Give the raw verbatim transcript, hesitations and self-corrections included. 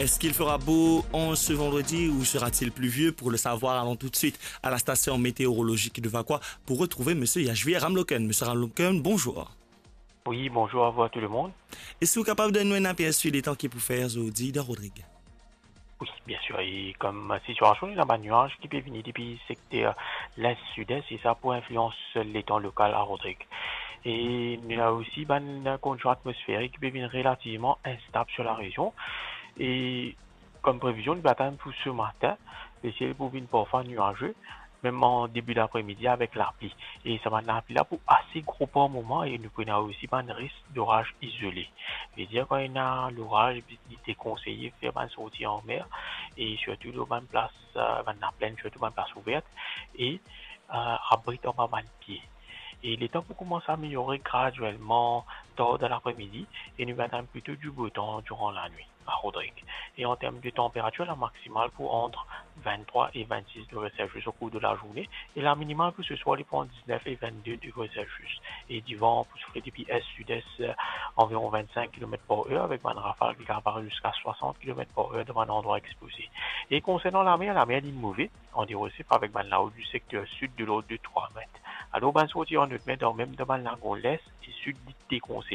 Est-ce qu'il fera beau en ce vendredi ou sera-t-il pluvieux ? Pour le savoir, allons tout de suite à la station météorologique de Vacoas pour retrouver monsieur Yashvir Ramloken. Monsieur Ramloken, bonjour. Oui, bonjour à vous, à tout le monde. Est-ce que vous êtes capable de nous donner un aperçu des temps qui pour faire aujourd'hui dans Rodrigue ? Oui, bien sûr. E kom sitiasion, ena bann nwaz ki pe vini depi sekter lest, sides, e sa pou inflians letan lokal a Rodrigue. E nou ena osi bann kondision atmosferik ki pe vinn relativman instab sur la rezion. E kom previzion, nou pe atann pou se matin, lesiel pou vinn parfwa nwaze, mem an debi dapremidi avek lapli. E sa bann lapli la pou ase gro par moman e nou pou ena osi bann risk doraz izole. Vedir kan ena loraz, li dekonseye fer bann sorti anmer e sirtou lor bann plas, eh, bann laplenn, sirtou bann plas ouver e, eh, abrit anba bann pie. E letan pou koumans ameliore graduelman tar dan lapremidi e nou pe atann plito du beau temps durant la nuit à Rodrigue. E an term de tanperatir, la maximal pou ant vinn-trwa e vinn-sis degre Celsius au cours de la journée e la minimal pou se swar li pou ant diz-nef e vinn-de degre Celsius. E divan pou soufle depi est-sud-est, eh, anviron vinn-sink kilomet par er, avek bann rafal ki kapav ariv ziska swasant kilomet par er dan bann landrwa expoze. E konsernan lamer, lamer li move, an diresep avek bann lao du sekter sid de lord de trwa met. Alor, bann sorti an not mer, dan mem dan bann lago lest e sid, li dekonseye.